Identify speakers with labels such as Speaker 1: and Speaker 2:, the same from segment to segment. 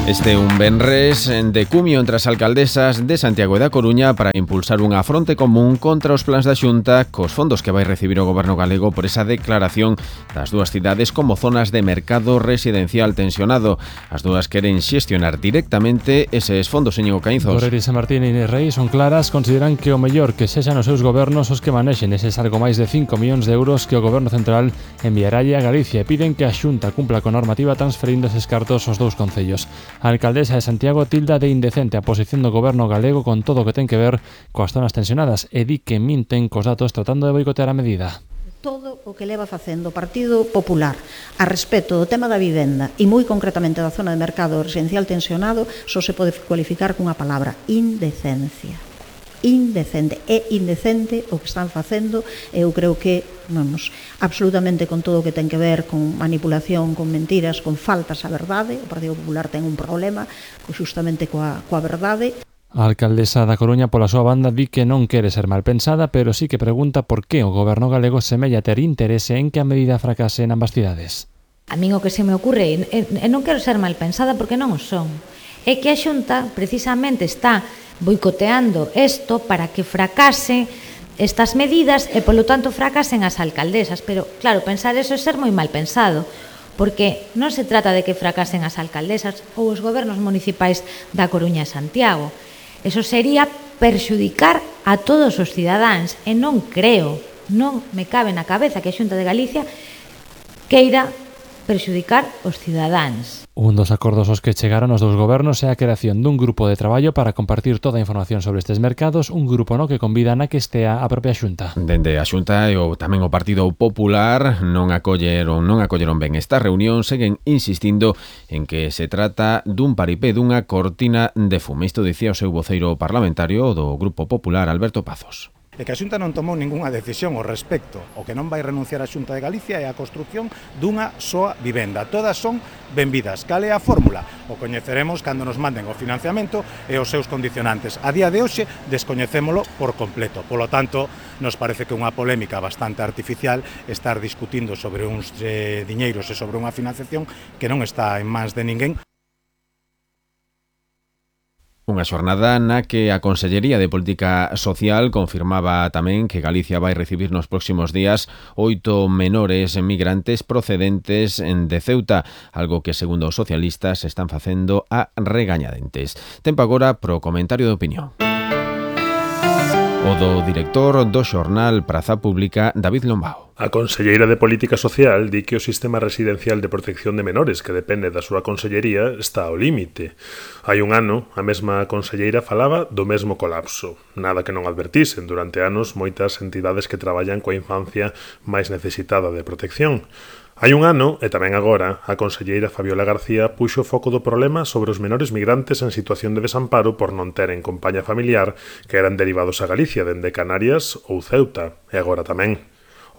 Speaker 1: Este un venres de cumio entre as alcaldesas de Santiago e da Coruña para impulsar unha fronte común contra os plans da Xunta cos fondos que vai recibir o Goberno galego por esa declaración das dúas cidades como zonas de mercado residencial tensionado. As dúas queren xestionar directamente eses fondos, señor Caínzos.
Speaker 2: Borrell, San Martín e Inés Rei son claras, consideran que o mellor que sexan os seus gobernos os que manexen eses algo máis de 5 millóns de euros que o Goberno Central enviaralle a Galicia e piden que a Xunta cumpla con normativa transferindo eses cartos aos dous concellos. A alcaldesa de Santiago tilda de indecente a posición do Goberno galego con todo o que ten que ver coas zonas tensionadas e di que minten cos datos tratando de boicotear a medida.
Speaker 3: Todo o que leva facendo o Partido Popular a respecto do tema da vivenda e moi concretamente da zona de mercado residencial tensionado só se pode cualificar cunha palabra: indecencia. Indecente, é indecente o que están facendo. Eu creo que, absolutamente con todo o que ten que ver con manipulación, con mentiras, con faltas á verdade. O Partido Popular ten un problema xustamente coa verdade.
Speaker 2: A alcaldesa da Coruña, pola súa banda, di que non quere ser mal pensada, pero sí que pregunta por que o Goberno galego semella ter interese en que a medida fracase en ambas cidades.
Speaker 4: A min o que se me ocurre, e non quero ser mal pensada porque non o son, é que a Xunta precisamente está boicoteando isto para que fracase estas medidas e, polo tanto, fracasen as alcaldesas. Pero, claro, pensar eso é ser moi mal pensado, porque non se trata de que fracasen as alcaldesas ou os gobernos municipais da Coruña e Santiago. Eso sería perxudicar a todos os cidadáns e non creo, non me cabe na cabeza que a Xunta de Galicia queira perxudicar os cidadáns.
Speaker 2: Un dos acordos aos que chegaron os dous gobernos é a creación dun grupo de traballo para compartir toda a información sobre estes mercados, un grupo no que convidan a que estea a propia Xunta.
Speaker 1: Dende a Xunta e tamén o Partido Popular non acolleron ben esta reunión, seguen insistindo en que se trata dun paripé, dunha cortina de fume. Isto dicía o seu voceiro parlamentario do Grupo Popular, Alberto Pazos.
Speaker 5: E que a Xunta non tomou ningunha decisión ao respecto. O que non vai renunciar a Xunta de Galicia é a construción dunha soa vivenda. Todas son benvidas. Cal é a fórmula? O coñeceremos cando nos manden o financiamento e os seus condicionantes. A día de hoxe descoñecémolo por completo. Polo tanto, nos parece que é unha polémica bastante artificial estar discutindo sobre uns diñeiros e sobre unha financiación que non está en mans de ninguén.
Speaker 1: Unha xornada na que a Consellería de Política Social confirmaba tamén que Galicia vai recibir nos próximos días 8 menores migrantes procedentes de Ceuta, algo que, segundo os socialistas, están facendo a regañadentes. Tempo agora pro comentario de opinión. O do director do xornal Praza Pública, David Lombao.
Speaker 6: A conselleira de Política Social di que o sistema residencial de protección de menores que depende da súa consellería está ao límite. Hai un ano, a mesma conselleira falaba do mesmo colapso. Nada que non advertisen durante anos moitas entidades que traballan coa infancia máis necesitada de protección. Hai un ano, e tamén agora, a conselleira Fabiola García puxo o foco do problema sobre os menores migrantes en situación de desamparo por non teren compaña familiar que eran derivados a Galicia dende Canarias ou Ceuta, e agora tamén.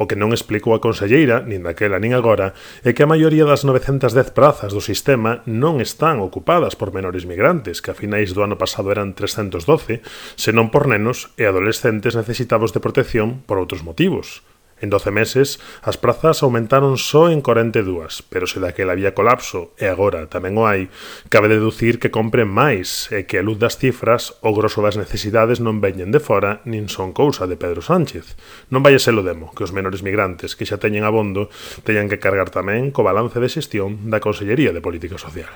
Speaker 6: O que non explicou a conselleira, nin daquela nin agora, é que a maioría das 910 prazas do sistema non están ocupadas por menores migrantes, que a finais do ano pasado eran 312, senón por nenos e adolescentes necesitados de protección por outros motivos. En 12 meses, as prazas aumentaron só en 42, pero se daquela había colapso, e agora tamén o hai, cabe deducir que compren máis e que a luz das cifras o grosso das necesidades non veñen de fora nin son cousa de Pedro Sánchez. Non vai a ser o demo que os menores migrantes que xa teñen abondo teñan que cargar tamén co balance de xestión da Consellería de Política Social.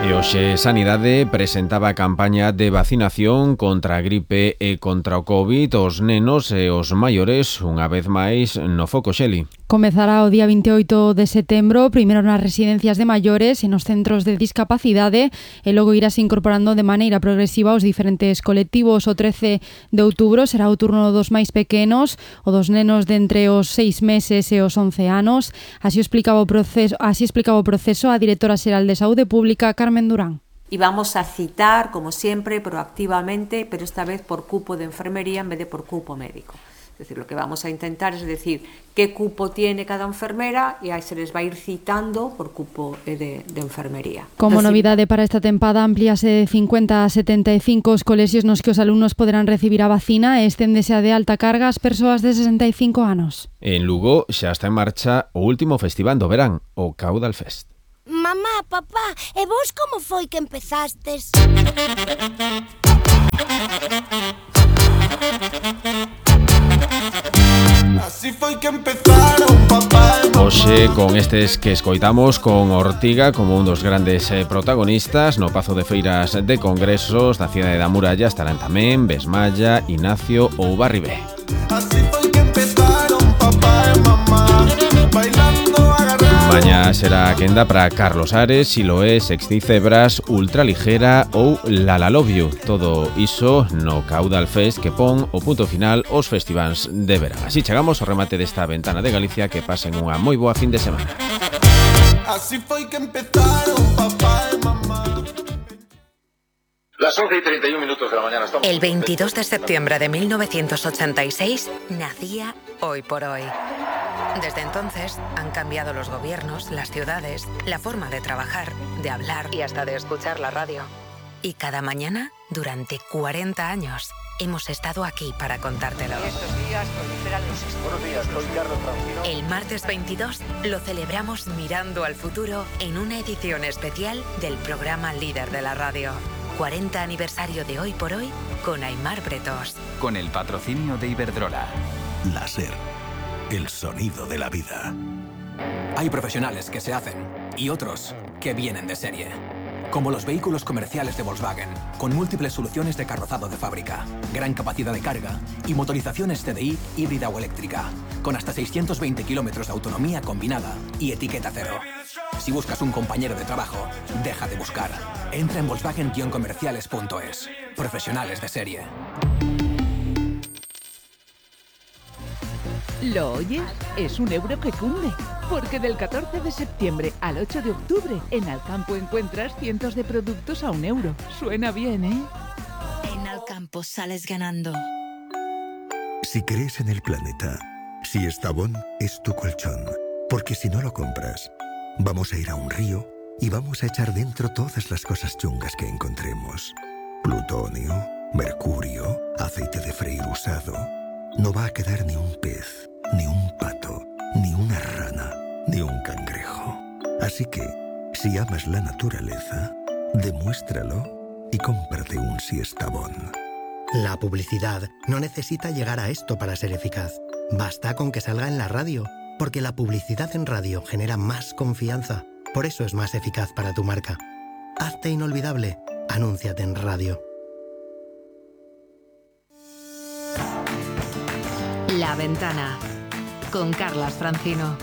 Speaker 1: E hoxe Sanidade presentaba a campaña de vacinación contra a gripe e contra o COVID os nenos e os maiores, unha vez máis no foco, Xeli.
Speaker 7: Comezará o día 28 de setembro, primeiro nas residencias de maiores e nos centros de discapacidade e logo irase incorporando de maneira progresiva os diferentes colectivos. O 13 de outubro será o turno dos máis pequenos, o dos nenos de entre os 6 meses e os 11 anos. Así explicaba o proceso a directora xeral de Saúde Pública, Carmen Durán.
Speaker 8: Y vamos a citar, como siempre, proactivamente, pero esta vez por cupo de enfermería en vez de por cupo médico. Es decir, lo que vamos a intentar es decir qué cupo tiene cada enfermera y ahí se les va a ir citando por cupo de enfermería.
Speaker 7: Como novidade para esta tempada, amplíase de 50 a 75 os colexios nos que os alumnos poderán recibir a vacina e esténdese a de alta carga as persoas de 65 anos.
Speaker 1: En Lugo xa está en marcha o último festival do verán, o Caudal Fest.
Speaker 9: Mamá, papá, e vos como foi que empezastes?
Speaker 10: Así foi que empezaron, papá e mamá.
Speaker 1: Hoxe con estes que escoitamos con Ortiga como un dos grandes protagonistas no Pazo de Feiras de Congresos da cidade da Muralla estarán tamén Besmalla, Ignacio ou Barribé.
Speaker 10: Así foi que empezaron, papá e mamá, bailando agarrados.
Speaker 1: Mañá será a quenda para Carlos Ares, Siloé, Sexti Cebras, Ultraligera ou La La Love You. Todo iso no Caudal Fest que pon o punto final aos festivals de verán. Así chegamos ao remate desta ventana de Galicia. Que pasen unha moi boa fin de semana.
Speaker 10: Así foi que empezaron, papá e mamá.
Speaker 11: Las 11:31 de la mañana estamos...
Speaker 12: El 22 de septiembre de 1986 nacía Hoy por Hoy. Desde entonces han cambiado los gobiernos, las ciudades, la forma de trabajar, de hablar y hasta de escuchar la radio. Y cada mañana, durante 40 años, hemos estado aquí para contártelo.
Speaker 11: Estos días proliferan los... Buenos días, soy Carlos Francino.
Speaker 12: El martes 22 lo celebramos mirando al futuro en una edición especial del programa líder de la radio. 40 aniversario de Hoy por Hoy con Aimar Bretos.
Speaker 13: Con el patrocinio de Iberdrola.
Speaker 14: Láser, el sonido de la vida.
Speaker 15: Hay profesionales que se hacen y otros que vienen de serie. Como los vehículos comerciales de Volkswagen, con múltiples soluciones de carrozado de fábrica, gran capacidad de carga y motorizaciones TDI híbrida o eléctrica, con hasta 620 kilómetros de autonomía combinada y etiqueta cero. Si buscas un compañero de trabajo, deja de buscar. Entra en Volkswagen-comerciales.es. Profesionales de serie.
Speaker 16: ¿Lo oyes? Es un euro que cunde. Porque del 14 de septiembre al 8 de octubre, en Alcampo encuentras cientos de productos a €1. Suena bien, ¿eh?
Speaker 17: En Alcampo sales ganando.
Speaker 14: Si crees en el planeta, si Estavón es tu colchón, porque si no lo compras, vamos a ir a un río y vamos a echar dentro todas las cosas chungas que encontremos. Plutonio, mercurio, aceite de freír usado. No va a quedar ni un pez, ni un pato, ni una rana, ni un cangrejo. Así que, si amas la naturaleza, demuéstralo y cómprate un Siestabón.
Speaker 18: La publicidad no necesita llegar a esto para ser eficaz. Basta con que salga en la radio, porque la publicidad en radio genera más confianza. Por eso es más eficaz para tu marca. Hazte inolvidable. Anúnciate en radio.
Speaker 12: La Ventana con Carlas Francino.